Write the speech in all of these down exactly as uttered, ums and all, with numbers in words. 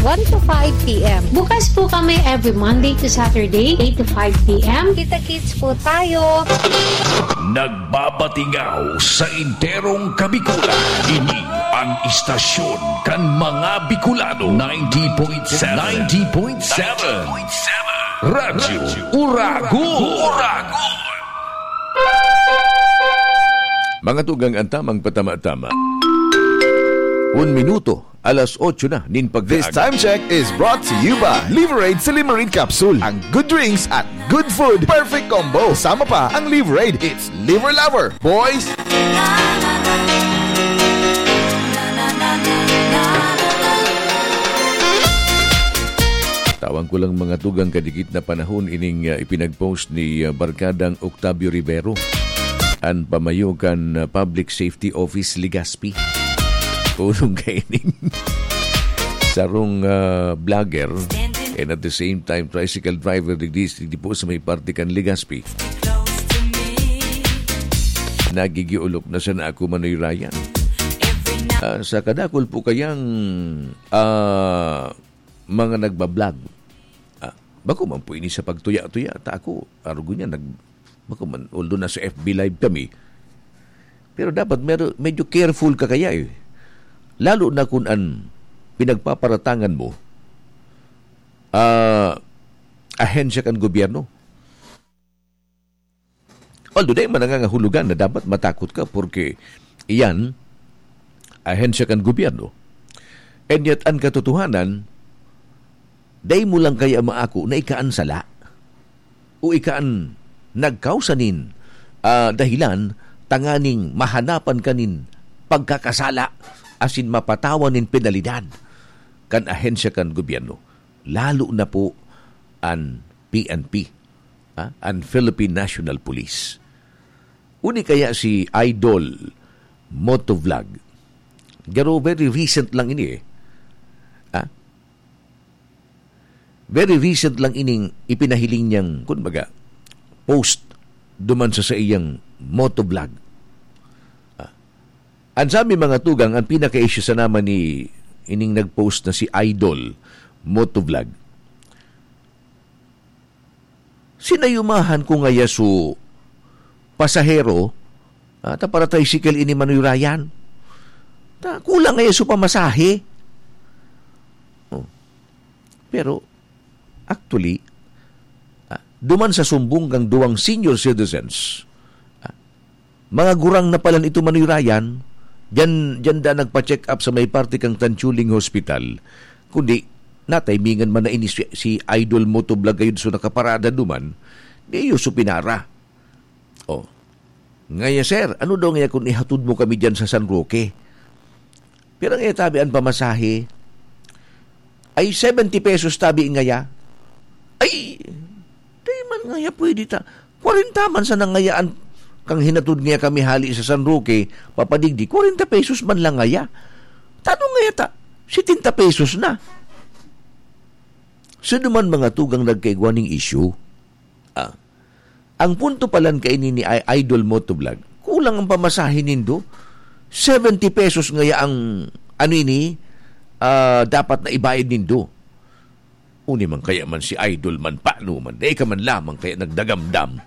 one to five p m. Bukas po kami every Monday to Saturday, eight to five p m. Kita-kits po tayo. Nagbabatingaw sa enterong Kabikulan. Ini ang istasyon kan mga Bicolano. Ninety point seven. Ninety point seven. Radyo Uragon. Mga tugang, ang tamang patama-tama. Un minuto, alas otso na nin pagkaagi. This time check is brought to you by Liverade Silimarin Capsule. Ang good drinks at good food, perfect combo. Sama pa ang Liverade. It's Liver Lover, boys! Tawan ko lang, mga tugang, kadikit na panahon ining, ah, ipinag-post ni, ah, Barkadang Octavio Rivero, an pamayo kan, ah, Public Safety Office Legazpi. Kulong kaining sarong, ah, vlogger and at the same time tricycle driver digdi, digdi po sa may parte kan Legazpi. Nagigiulok na sana ako, Manoy Ryan. Ah, sa kadakul po kayang, ah, mga nagbablog. Ah, bako man po ini sa pagtuya-tuya, ta ako, arog niya, nag-, bako man, although nasa F B Live kami, pero dapat mero-, medyo careful ka kaya eh. Lalo na kung an pinagpaparatangan mo, ah, ahensya kan gobyerno. Although, dai man nangangahulugan na dapat matakot ka, porque iyan, ahensya kan gobyerno. And yet, an katotohanan, dai mo lang kaya maako na ika an sala o ika an nagkausa nin, ah, dahilan tanganing mahanapan ka nin pagkakasala asin mapatawan nin penalidad kan ahensya kan gobyerno, lalo na po an P N P, ah, an Philippine National Police. Uni kaya si Idol Motovlog. Garo, very recent lang ini eh. Ah? Very recent lang ining ipinahiling niyang, kumbaga, post duman sa saiyang motovlog. Ah. An sabi, mga tugang, ang pinaka-issue sana man ni ining nag-post na si Idol Motovlog. Sinayumahan ko ngaya su pasahero, ah, ta para tricycle ini, Manoy Ryan. Ta kulang ngaya su pamasahe. Oh. Pero, actually, ah, duman sa sumbong kang duwang senior citizens, ah, mga gurang na pala ito, Manoy Ryan, diyan, diyan da nagpa-check up sa may parte kang Tanchuling Hospital. Kundi, natimingan man na ini si, si Idol Motovlog gayud, so nakaparada duman, di iyo so pinara. Oh. Ngaya, sir, ano daw ngaya kung ihatod mo kami diyan sa San Roque? Pira ngaya tabi an pamasahe? Ay, seventy pesos tabi ngaya. Ay, di man ngaya pwede ta. Kwarenta man sana ngaya an kang hinatod ngaya kami hali sa San Roque, papadigdi, kwarenta pesos man lang ngaya. Tanong ngaya ta, setenta pesos na. So, duman mga tugang nagkaigwa ning issue. Ah, ang punto palan kaini ni I-, Idol Motovlog, kulang ang pamasahe nindo. Seventy pesos ngaya ang, ano ini, ah, dapat na ibayad nindo. Uni man kaya man si Idol man, paano man, dai ka man lamang kaya nagdagamdam?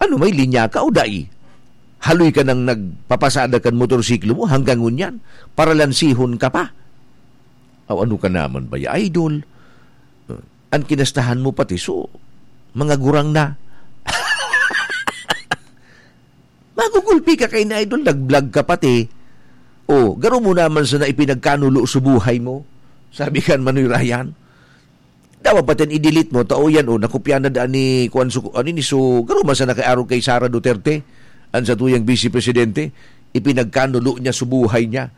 Ano, may linya ka o dai? Haloy ka nang nagpapasada kan motorsiklo mo hanggang ngunyan, paralansihon ka pa. Aw, ano ka naman ba, ya, Idol? An kinastahan mo pati, so, mga gurang na. Magugulpi ka kaini, Idol, nag-vlog ka pati. O, garo mo naman sana ipinagkanulo sa buhay mo, sabi kan Manoy Ryan. Dapat pati i-delete mo, tao yan, o, nakopya na daan ni, kuwan, su-, ano ni, so, garo man sana kay arog kay Sara Duterte, an satuyang Vice Presidente, ipinagkanulo niya sa buhay niya.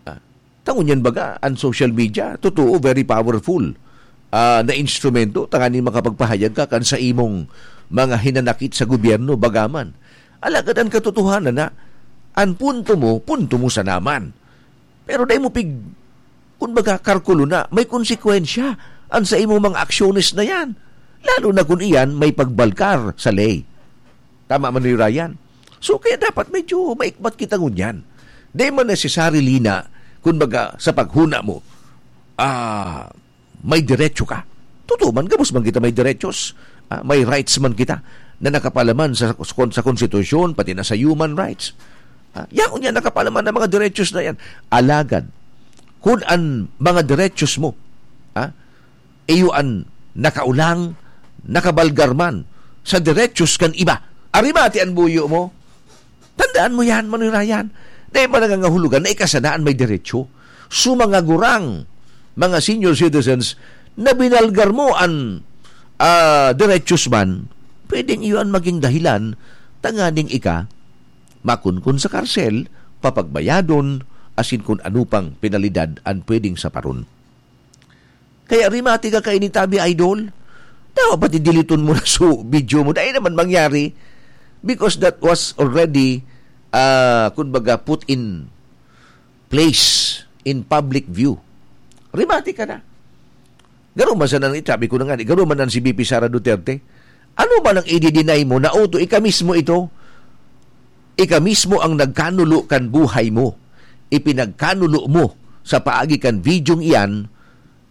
Ah, tangon yan baga, ang social media, totoo, very powerful, ah, na instrumento, tanganing makapagpahayag ka kan sa imong mga hinanakit sa gobyerno, bagaman. Alagad ang katotohanan na, ang punto mo, punto mo sa naman. Pero dai mo pig-, kumbaga, karkulo na, may konsekwensya ang sa imong mga aksyones na yan. Lalo na kung iyan may pagbalkar sa ley. Tama man ni Ryan. So, kaya dapat medyo maikmat kita ngunyan. Di man necessarily na, kumbaga, sa paghuna mo, ah, may diretso ka. Totoo man, gabos man kita may derechos. Ah, may rights man kita na nakapalaman sa, sa konstitusyon, pati na sa human rights. Ah, yaon yan, nakapalaman ang mga derechos na yan. Alagad, kun an mga derechos mo, ah, iyo an nakaulang, nakabalgar man sa derechos kan iba. Ari mati an buyo mo. Tandaan mo yan, Manoy Ryan. Dai man nangangahulugan na ika sana an may deretsyo. So, mga gurang, mga senior citizens, na binalgar mo an, ah, derechos man, pwedeng iyon maging dahilan tanganing ika makunkon sa karsel, papagbayadon, asin kun ano pang penalidad an pwedeng saparon. Kaya rimati ka kaini tabi, idol. Dapat pati diliton mo na so video mo. Dai naman mangyari. Because that was already, ah, kumbaga, put in place, in public view. Rimati ka na. Garo man sana ang itabi ko na nga, garo man ang si B P Sara Duterte. Ano man ang i-deny mo na uto, ika mismo ito? Ika mismo ang nagkanulo kan buhay mo. Ipinagkanulo mo sa paagi kan videong iyan,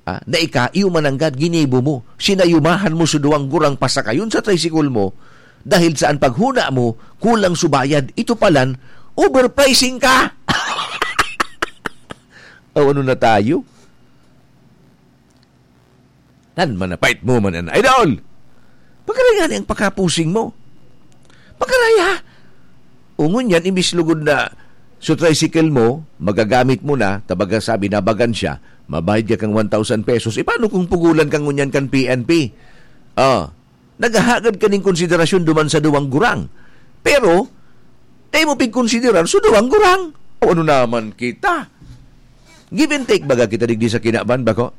ah, na ika, iyo mananggad, ginibo mo. Sinayumahan mo sa duwang gurang pasakayon sa tricycle mo dahil sa an paghuna mo, kulang subayad. Ito palan, overpricing ka! O ano na tayo? Nan manapait mo man an idol. Pagkaraya ni ang pakapusing mo. Pagkaraya. Ungon yan, imbis lugod na so tricycle mo, magagamit mo na, tabaga sabi, nabagan siya, mabayad ka kang one thousand pesos. E, paano kung pugulan ka ngunyan kan P N P? Ah, naghahagad ka ning konsiderasyon duman sa duwang gurang. Pero, dai mo pigkonsiderar so duwang gurang. O ano naman kita? Give and take baga kita digdi sa kinaban, bako?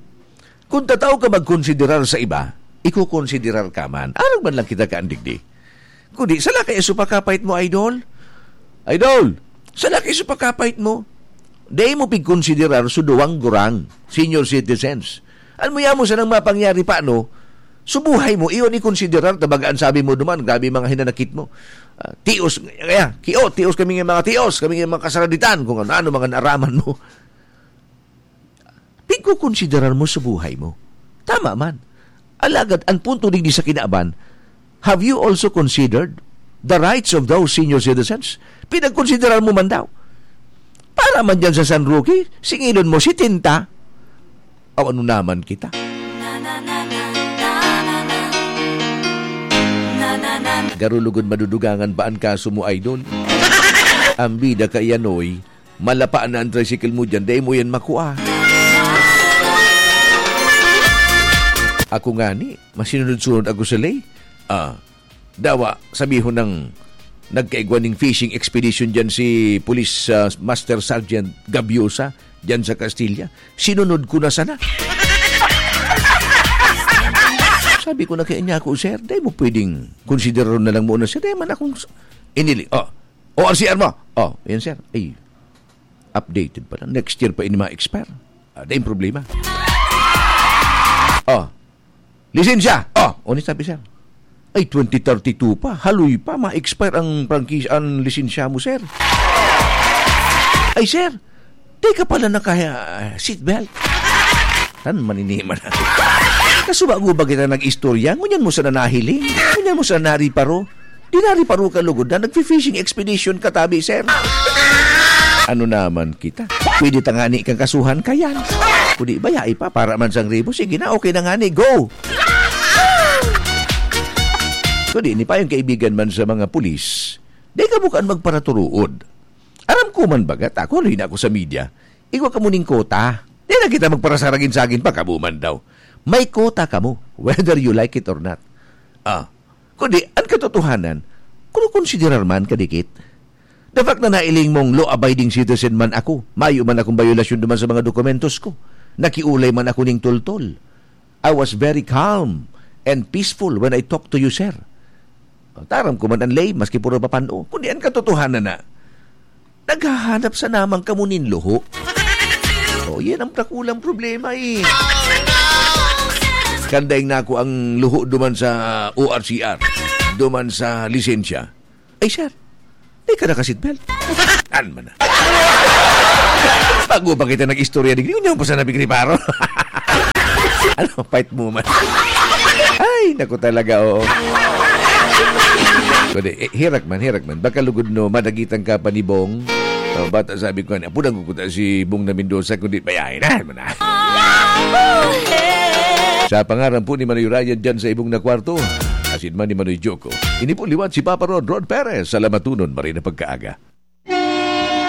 Kun tatao ka magkonsiderar sa iba, ikokonsiderar ka man. Arog man lang kita kaandigdi. Kundi, sala kaya so pakapait mo, idol? Idol, sala kaya so pakapait mo? Dai mo pigkonsiderar so duwang gurang, senior citizens. An mo yamo sanang mapangyari pa, no? So buhay mo, iyon ikonsiderar, tabaga an sabi mo duman, grabe mga hinanakit mo. Ah, tios, kaya, kio, tios kami nga mga tios, kami nga mga kasaraditan, kung ano-ano mga naaraman mo. Pigkokonsiderar mo sa buhay mo. Tama man. Alagad, an punto digdi sa kinaban, have you also considered the rights of those senior citizens? Pinagkonsiderar mo man daw. Para man dyan sa San Roque, singilon mo, setenta. O ano naman kita? Garo lugod madudugangan pa an kaso mo, idol. Ang bida ka iyan, oy. Malapa na ang tricycle mo dyan, dai mo yan makua. Ako ngani, masinunod-sunod ako sa lay. Ah, dawa, sabihon ng nagkaigwa ning fishing expedition dyan si Police, ah, Master Sergeant Gabiosa dyan sa Castilla. Sinunod ko na sana. Sabi ko na kaya niya ako, "Sir, dai mo pwedeng konsiderar na lang muna, sir. Dai man akong s-, inili." Oh, O R C R mo. Oh, yan, sir. Ay, updated pa lang. Next year pa ini ma-expire. Ah, dai problema. Oh, lisensya. Oh, ano sabi, sir? Ay, twenty thirty-two pa. Haloy pa. Ma-expire ang prangkisa, ang lisensya mo, sir. Ay, sir. Di ka pala naka, ah, seatbelt. Tan maniniman na. Kasubago ba kita nag-istorya? Ngunyan mo sana nahiling? Ngunyan mo sana nariparo? Di nariparo ka lugod na nagfi-fishing expedition ka tabi, sir. Ano naman kita? Pwede tangani kang kasuhan ka yan. Kung di, bayai pa, para man sang ribo. Sige na, okay na ngani, go! Kung di, ni pa yung kaibigan man sa mga pulis, di ka bukaan magparaturuod. Aram ko man baga, ta, kung haloy na ako sa media, igwa kamo ning kota. Di na kita magparasaragin-sagin pa, kamo man daw. May kota kamo, whether you like it or not. Ah, kundi, ang katotohanan, kung konsiderar man kadikit. The fact na nailing mong law-abiding citizen man ako, mayo man akong bayolasyon duman sa mga dokumentos ko, nakiulay man ako ning toltol. I was very calm and peaceful when I talked to you, sir. Taram ko man an lay, maski puro papan-o. Kundi an katotohanan na, naghahanap sana man kamo nin luho. Oh, yan ang dakulang problema, eh. Kan daing nako ang luho duman sa O R C R, duman sa lisensya. Ay, sir, di ka naka-seatbelt. An man na. Bago pa kita nag-istorya digdi, ngunyan pa sa nabigriparo. Ano, fight mo man. Ay, naku talaga, oo. Kundi, eh, herak man, herak man. Baka lugod no, madagitan ka pa ni Bong. Oh, bata sabi ko, "Apo, nagkukuta si Bong na Mendoza, kundi bayae na, mo na." Sa pangaran po ni Manoy Ryan dyan sa ibong na kwarto, asin man ni Manoy Joko. Ini po liwat si Papa Rod, Rod Perez. Salamatunon, maray na pagkaaga.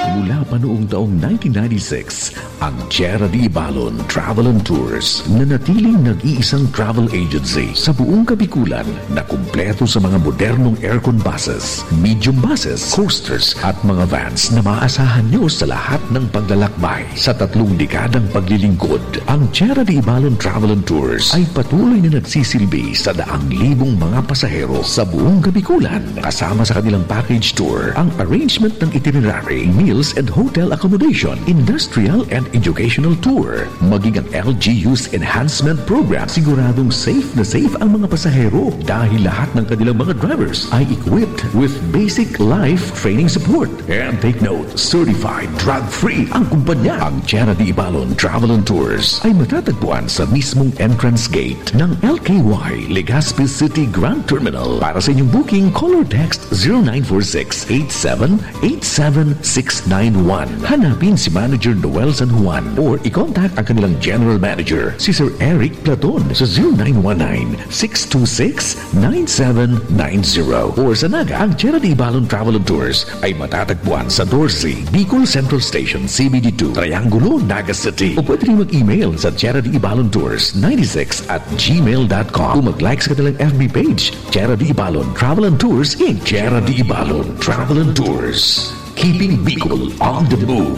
Mula pa noong taong nineteen ninety-six, ang Tierra de Ibalon Travel and Tours nanatiling nag-iisang travel agency sa buong Kabikulan na kumpleto sa mga modernong aircon buses, medium buses, coasters at mga vans na maaasahan nyo sa lahat ng paglalakbay. Sa tatlong dekadang paglilingkod, ang Tierra de Ibalon Travel and Tours ay patuloy na nagsisilbi sa daang libong mga pasahero sa buong Kabikulan. Kasama sa kanilang package tour, ang arrangement ng itinerary, meals and hotel accommodation, industrial and educational tour, maging ang L G U's enhancement program, siguradong safe na safe ang mga pasahero dahil lahat ng kanilang mga drivers ay equipped with basic life training support. And take note, certified drug-free ang kumpanya. Ang Tierra de Ibalon Travel and Tours ay matatagpuan sa mismong entrance gate ng L K Y Legazpi City Grand Terminal. Para sa inyong booking, call or text zero nine four six eight seven eight seven six nine one. Hanapin si Manager Noel San Juan or i-contact ang kanilang General Manager, si Sir Eric Platon, sa zero nine one nine six two six nine seven nine zero. Or sa Naga, ang Tierra de Ibalon Travel and Tours ay matatagpuan sa Dorsey, Bicol Central Station, C B D two, Triangulo, Naga City. O pwede rin mag-email sa Tierra de Ibalon Tours ninety-six at gmail dot com o mag-like sa kanilang F B page, Tierra de Ibalon Travel and Tours, Inc. Tierra de Ibalon Travel and Tours. Keeping Bicol on the move.